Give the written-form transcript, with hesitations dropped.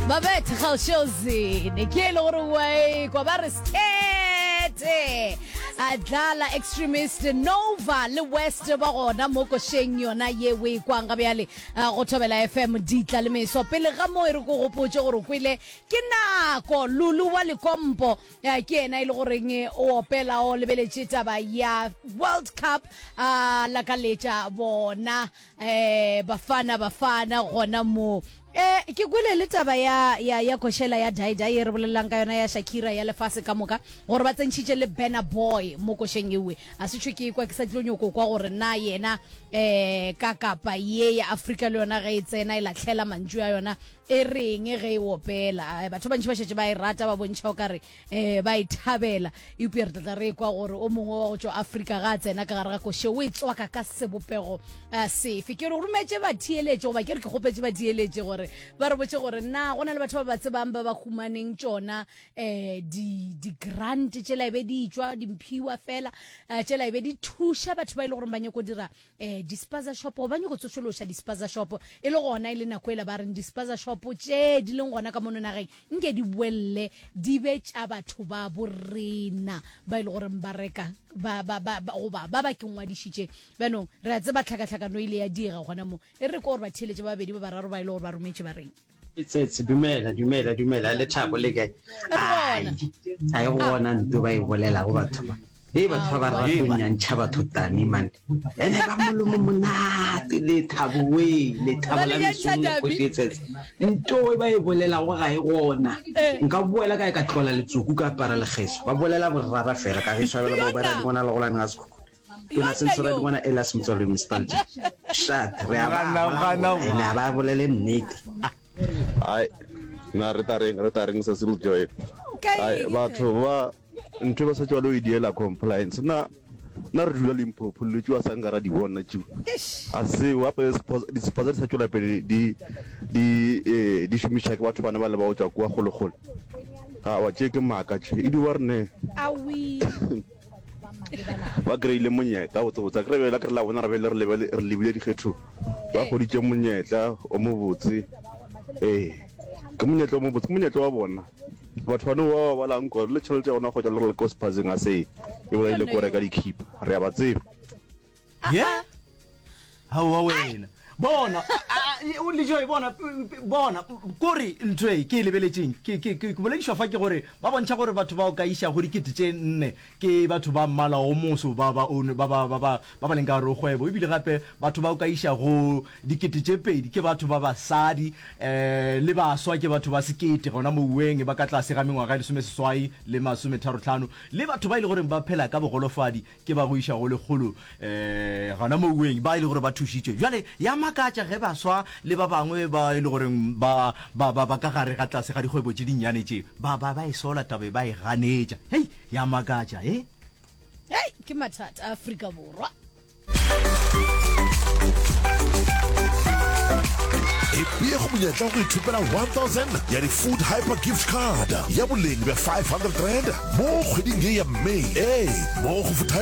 Babethe Kgaošeozine ke e le gore wa ekwa ba re stete a dlala extremist Nova le West ba gona mo košeng yona ye o e kwang ga bjale go Thobela FM ditla le meso pele ga mo e re ko gopotše gore o kwele ke nako Lulu wa Lekompo ke yena e le goreng o opela o lebeletše taba ya World Cup a lakaletša bona Eh, Bafana Bafana gona mo. Eh, ke kwele le taba ya ya ya košela ya Dai Dai e re bolelelang ka yona ya Shakira ya lefase ka moka gore ba tsentšhitše le Burna Boy mo košeng ewe. A se tšho ke kwa ke sa tlo nyoko kwa gore na yena eh ka kapa ye ya Afrika le yona ge e tsena e lahlela mantšu a yona e reng ge e opela. Eh, batho ba bantši ba šetše ba e rata ba bontšha o kare um ba e thabela eupša re tlatla re ekwa gore o mongwe wa go tšwa Afrika ga a tsena ka gare ga koše o e tswaka ka sebopego eh, sefe. Ke re rometše batheeletše goba ke re ke kgopetše batheeletše gore ba re botše gore na go na le batho ba ba tsebang ba ba humaneng tšona um di-grant tšela e be di tšwa dimphiwa fela eh, tšela e be di thuša batho ba e le gore ba nyako dira um di-spaza shop goba ba nyako tsošološa di-spaza shop e le gona e le nako ela ba reng di-spaza shop tše di leng gona ka mono nageng nke di boelle di be tša batho ba borena ba e le goreng ba reka ba, ba, ba, ba, goba ba ba ke ngwadišitše bjanong re a tseba tlhakatlhakano e ile ya diega gona mo e re ko gore ba theeletše ba babedi ba bararo ba e le gore ba rometše ba reng Tsetse, dumela, dumela, dumela, Lethabo le kae? Re Ai, gona. ga e gona nto ba e bolelago batho ba. Hei batho ba ba rata go nyantšha batho tami man. Ene ba molomo monate Lethabo wee, Lethabo Ba la le nyantšha mesong le tami. kgoši e Tsetse. Nto e ba e bolelago ga e gona. Eh. Nka boela kae ka tlola letsoku ka apara lekgeso. Ba bolela borara fela ka gešo ba bela ba bera dingwana le golane ga sekhukhu. Tona Sensora Dingwana Elias Motswaledi Mostalgia. Shat, re a ba Gana, gana. ene a ba bolele nnete. Ai, na re tla reng, re tla reng Cecil Joy. Ai, batho ba ntho ba sa tšwa lo e diela compliance. Na na re dula Limpopo le tšwa sa nka ra di bona tšeo. A se gape dispaza di sa tšwela pele di di eh, di šomiša ke batho bana ba le ba go tšwa kua kgole kgole. Awa tše ke maaka tše. E di ba re ne. Awi. Ba kry-ile monyetla botsebotse. Akere bjale akere la bona re bele re lebele re lebile dikgethong. Ba hweditše monyetla o mobotse. Ee, ke monyetla o mobotse, ke monyetla wa bona. Batho ba no ba ba balang gore le tšhelete ya bona go tšwa le re le ko sephazeng a se e bolaile ko reka dikhipa. Re a ba tseba. Ye? Aowa wena. Bona, Lejoe, bona, bona, kore ntho e ke e lebeletšeng, ke, ke, ke boledišwa fa ke gore ba bontšha gore batho bao ka išago dikete tše nne ke batho ba mmala o moso ba ba, ba, ba, ba, ba, ba ba leng ka gare go kgwebo, ebile gape batho bao ka išago dikete tše pedi ke batho ba basadi, um le baswa ke batho ba sekete gona mouweng ba ka tlase ga mengwaga e lesomeseswai le masometharotlhano, le batho ba e le goreng ba phela ka bogolofadi Ke ba go iša go lekgolo um gona mouweng ba e le gore ba thušitšwe. Bjale ya makatša ge baswa le ba bangwe ba e le goreng ba, ba, ba, ba ka gare ga tlase ga dikgwebo tše dinnyane tše, ba, ba, ba e sola taba e, ba e ganetša. Hei, ya makatša, he. Hei, ke mathata a Afrika Borwa. Ipee go monyetla wa go ithopela 1000 ya di-Food Hyper Gift Card ya boleng bja R500 mo kgweding ye ya May. Ee, mo go Food Hyper.